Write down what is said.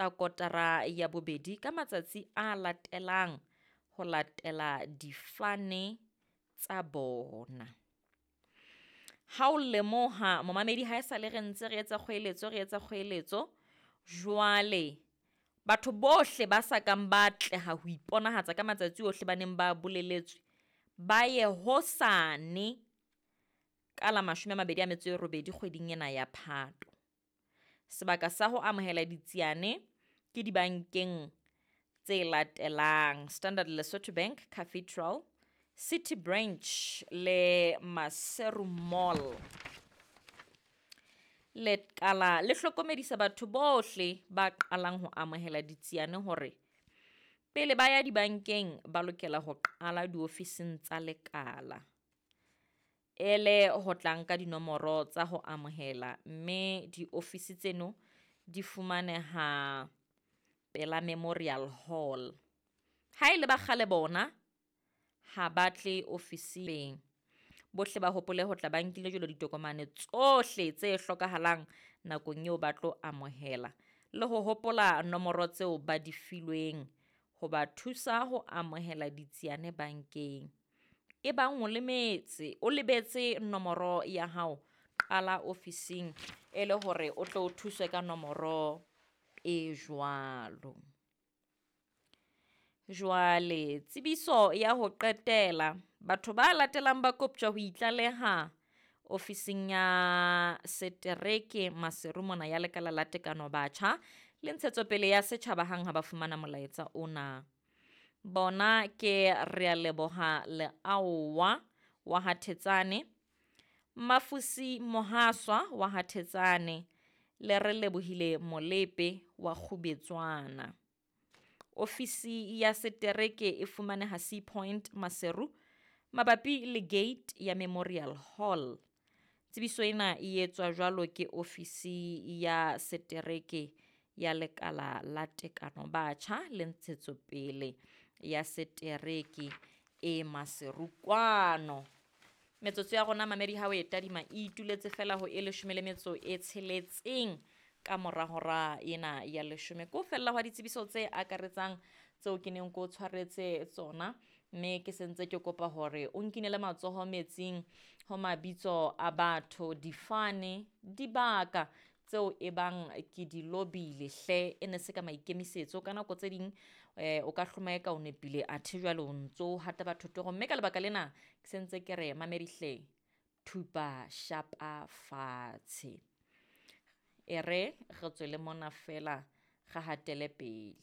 Tsa kotara ya bobedi ka matsatsi a latelang ho latela difane tsa bona. Ha o lemoha momamedi ha esale re ntse re etsa kgoeletso, re etsa kgoeletso jwale batho bohle ba sa kang ba atleha ho iponahatsa ka matsatsi ohle ba neng ba boleletswe, ba ye hosane ka la 28 kgweding ena ya Phato. Sebaka sa ho amohela ditsiane ke dibankeng tse latelang: Standard Lesotho Bank Cathedral, City Branch le Maseru Mall. Lekala le hlokomedisa batho bohle ba qalang ho amohela ditsiane hore pele ba ya dibankeng ba lokela ho qala diofising tsa lekala ele ho tla nka dinomoro tsa ho amohela, mme diofisi tseno di fumaneha pela Memorial Hall. Ha ele ba kgale bona ha ba tle ofising. Bohle ba hopole ho tla ba nkile jwalo ditokomane tsohle tse hlokahalang nakong eo ba tlo amohela, le ho hopola nomoro tseo ba di filweng ho ba thusa ho amohela ditsiane bankeng. Ebang o lemetse, o lebetse nomoro ya hao, qala ofising e le hore o tlo thuswe ka nomoro e jwalo. Jwale tsebiso ya ho qetela, batho ba latelang ba koptjwa ho itlaleha ofising ya setereke Maseru mona ya Lekala la Tekano Batjha le Ntshetsopele ya Setjhaba hang ha ba fumana molaetsa ona. Bona ke Realeboha Leaowa wa ha Thetsane, Mafusi Mohaswa wa ha Thetsane le Relebohile Molepe wa Kgubetswana. Ofisi ya setereke e fumaneha Sea Point Maseru mabapi le gate ya Memorial Hall. Tsebiso ena e etswa jwalo ke ofisi ya setereke ya Lekala la Tekano Batjha le Ntshetsopele ya Setereke e Maseru kwano. Metsotso ya rona mamedi ha o e tadima e ituletse fela ho e 16 ka mora hora ena ya 10. Ke ho fella hwa ditsebiso tse akaretsang tseo ke neng ke o tshwaretse tsona, mme ke sentse ke kopa hore o nkinele matsoho metsing ho mabitso a batho, difane, dibaka tseo e bang ke di lobile hle, e ne se ka maikemisetso. Ka nako tse ding o ka hloma eka o nepile, athe jwale o ntso hata batho torong, mme ka lebaka lena ke sentse ke re mamedi hle, thupa shapa fatshe, e re re tswele mona fela re hatele pele.